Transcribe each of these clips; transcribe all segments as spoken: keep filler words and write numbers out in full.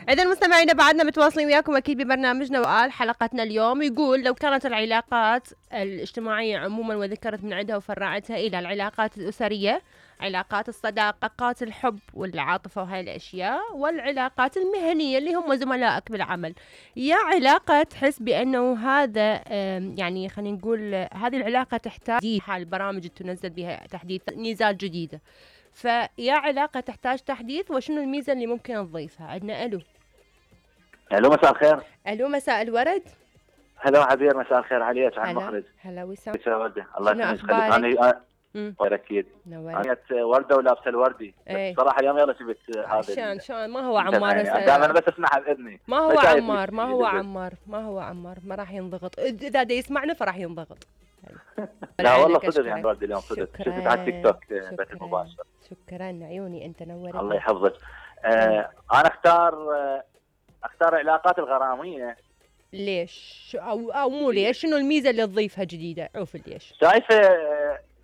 إذا المستمعين بعدنا متواصلين وياكم أكيد ببرنامجنا وقال حلقتنا اليوم. يقول لو كانت العلاقات الاجتماعية عموما وذكرت من عندها وفرعتها إلى العلاقات الأسرية، علاقات الصداقة، علاقات الحب والعاطفة وهاي الأشياء، والعلاقات المهنية اللي هم زملائك بالعمل، يا علاقة تحس بأنه هذا يعني خلينا نقول هذه العلاقة تحتاج حال البرامج تنزل بها تحديث ميزات جديدة، فيا علاقة تحتاج تحديث وشنو الميزة اللي ممكن نضيفها؟ عندنا ألو. الو مساء الخير. الو مساء الورد. هلا عبير مساء الخير عليك على المخرج. هلا وسام. الله يسعدك. انا غير اكيد. انا ورده ولابسه الوردي. ايه. صراحه اليوم يلا شفت هذا. عشان شلون ما هو عمار يعني دائما بس اسمعها باذني. ما هو عمار ما هو عمار ما هو عمار ما راح ينضغط، اذا دا يسمعنا فراح ينضغط. لا والله صدق يعني وردي اليوم صدق. شفت على التيك توك بث مباشر. شكرا عيوني انت نورت. الله يحفظك. آه انا اختار آه اختار العلاقات الغراميه. ليش؟ او او مو ليش، شنو الميزه اللي تضيفها جديده؟ عوف ليش؟ شايفه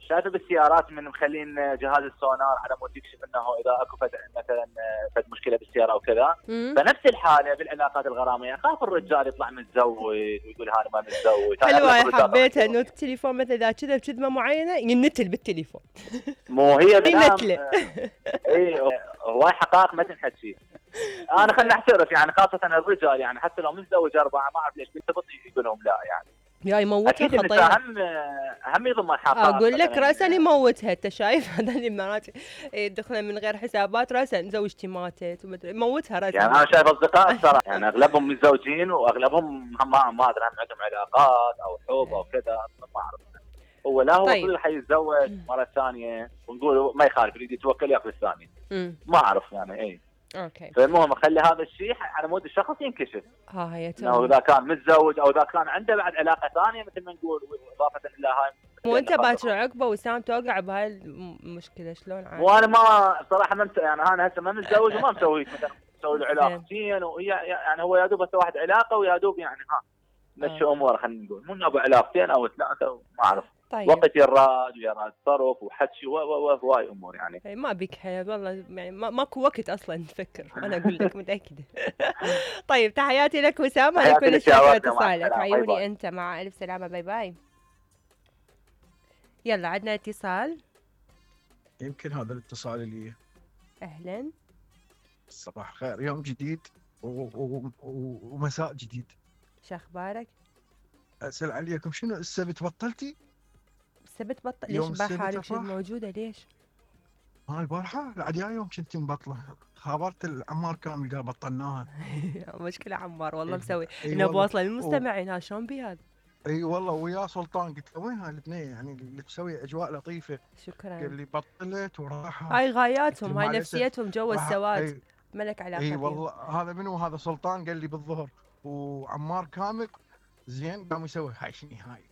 شايفه بالسيارات من مخلين جهاز السونار على مود يكشف انه اذا اكو فد مثلا فد مشكله بالسياره او كذا. فنفس الحاله بالعلاقات الغراميه، اخاف الرجال يطلع متزوج ويقول هذا ما متزوج. حلوه حبيتها انه التليفون مثلا اذا كذا بكذبه معينه ينتل بالتليفون. مو هي ينتله. اي هواي حقائق ما تنحكي. انا خليني احترف يعني خاصه الرجال يعني حتى لو متزوج اربعه ما اعرف ليش بنت يقول لهم لا يعني. يا يموتها خطير. هم هم يضم الحقائق. اقول لك راسا يموتها، انت شايف هذا اللي مرات يدخلن من غير حسابات راسا زوجتي ماتت ومدري يموتها راسا. يعني انا شايف اصدقاء صراحه يعني اغلبهم متزوجين واغلبهم هم ما ادري هم عندهم علاقات او حب او كذا ما اعرف. هو لا هو طيب. حيتزوج مره ثانيه ونقول ما يخالف يريد يتوكل ياخذ الثانيه. ما اعرف يعني اي. اوكي. فالمهم اخلي هذا الشيء على مود الشخص ينكشف. ها هي تمام. اذا كان متزوج او اذا كان عنده بعد علاقه ثانيه مثل ما نقول اضافه الى هاي. وانت باكر عقبه وسام توقع بهاي المشكله شلون عاد؟ وانا ما صراحه ما يعني انا هسه ما متزوج وما مسوي مثلا مسوي له علاقتين وهي يعني هو يا دوب بس واحد علاقه ويا دوب يعني ها مشي اموره خلينا نقول مو ابو علاقتين او ثلاثه ما اعرف. طيب. وقت يراد ويراد صرف وحكي وهواي امور يعني. ما بيك حيل والله يعني ماكو وقت اصلا نفكر انا اقول لك متاكده. طيب تحياتي لك وسام، انا كل الشكر اتصالك عيوني باي. انت مع الف سلامه باي باي. يلا عندنا اتصال. يمكن هذا الاتصال اللي اهلا صباح الخير، يوم جديد ومساء جديد. شو اخبارك؟ اسال عليكم شنو السبت بطلتي؟ السبت بطل ليش البارحه حالك شو موجوده ليش؟ ها البارحه العديا يوم كنت مبطله خابرت العمار كامل قال بطلناها. مشكله عمار والله مسوي انه بواصله للمستمعين ها شلون بهذا؟ اي والله ويا سلطان قلت له وين هاي الاثنين يعني اللي تسوي اجواء لطيفه. شكرا. قال لي بطلت وراحت. هاي غاياتهم هاي نفسيتهم جو السواد ملك علاقه. اي والله هذا منو هذا سلطان قال لي بالظهر وعمار كامل زين قام يسوي هاي شنو هاي